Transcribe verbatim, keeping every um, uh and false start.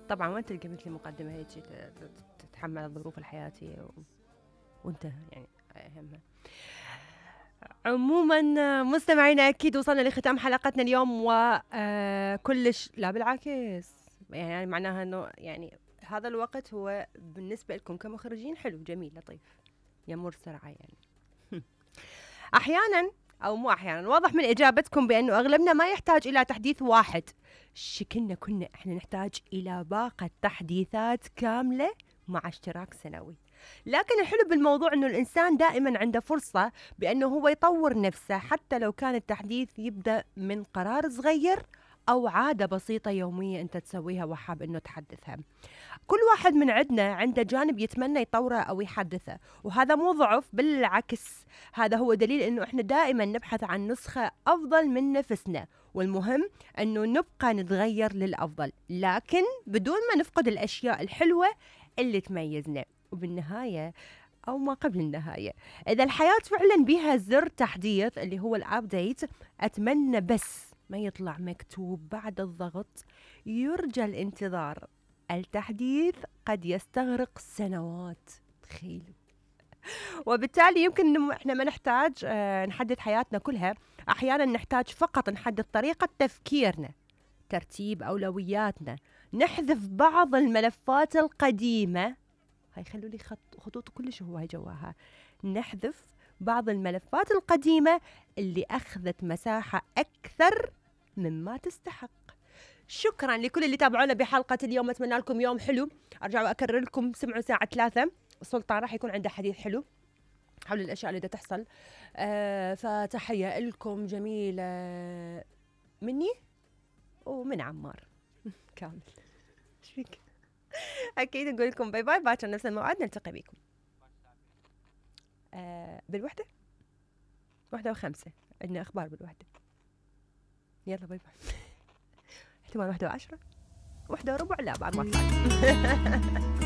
طبعا وين تلقى مثلي مقدمة هيك تتحمل الظروف الحياتية و... وانت يعني أهمها. عموما مستمعينا أكيد وصلنا لختام حلقتنا اليوم وكلش لا بالعكس يعني معناها أنه يعني هذا الوقت هو بالنسبة لكم كمخرجين حلو جميل لطيف يمر سرعة يعني. أحيانا أو مو أحيانا واضح من إجابتكم بأنه أغلبنا ما يحتاج إلى تحديث واحد، شكلنا كنا إحنا نحتاج إلى باقة تحديثات كاملة مع اشتراك سنوي. لكن الحلو بالموضوع أنه الإنسان دائما عنده فرصة بأنه هو يطور نفسه حتى لو كان التحديث يبدأ من قرار صغير أو عادة بسيطة يومية أنت تسويها وحاب أنه تحدثها. كل واحد من عندنا عنده جانب يتمنى يطوره أو يحدثه، وهذا مو ضعف، بالعكس هذا هو دليل أنه إحنا دائما نبحث عن نسخة أفضل من نفسنا، والمهم أنه نبقى نتغير للأفضل لكن بدون ما نفقد الأشياء الحلوة اللي تميزنا. وبالنهاية أو ما قبل النهاية، إذا الحياة فعلا بها زر تحديث اللي هو الأبديت، أتمنى بس ما يطلع مكتوب بعد الضغط يرجى الانتظار. التحديث قد يستغرق سنوات، تخيلوا. وبالتالي يمكن إنه إحنا ما نحتاج آه نحدث حياتنا كلها، أحيانا نحتاج فقط نحدث طريقة تفكيرنا، ترتيب أولوياتنا، نحذف بعض الملفات القديمة. هاي خلوا لي خط خطوط كلش هواي جواها. نحذف بعض الملفات القديمة اللي أخذت مساحة أكثر مما تستحق. شكرا لكل اللي تابعونا بحلقة اليوم، أتمنى لكم يوم حلو. أرجع وأكرر لكم سمعوا ساعة ثلاثة السلطان راح يكون عنده حديث حلو حول الأشياء اللي دا تحصل. آه فتحية لكم جميلة مني ومن عمار كامل. شفيك أكيد نقول لكم باي باي، باكر نفس الموعد نلتقي بكم آه بالوحدة واحدة وخمسة، عندنا أخبار بالوحدة. يلا باي باي. احتمال واحدة وعشرة واحدة وربع، لا بعد ما طلعت.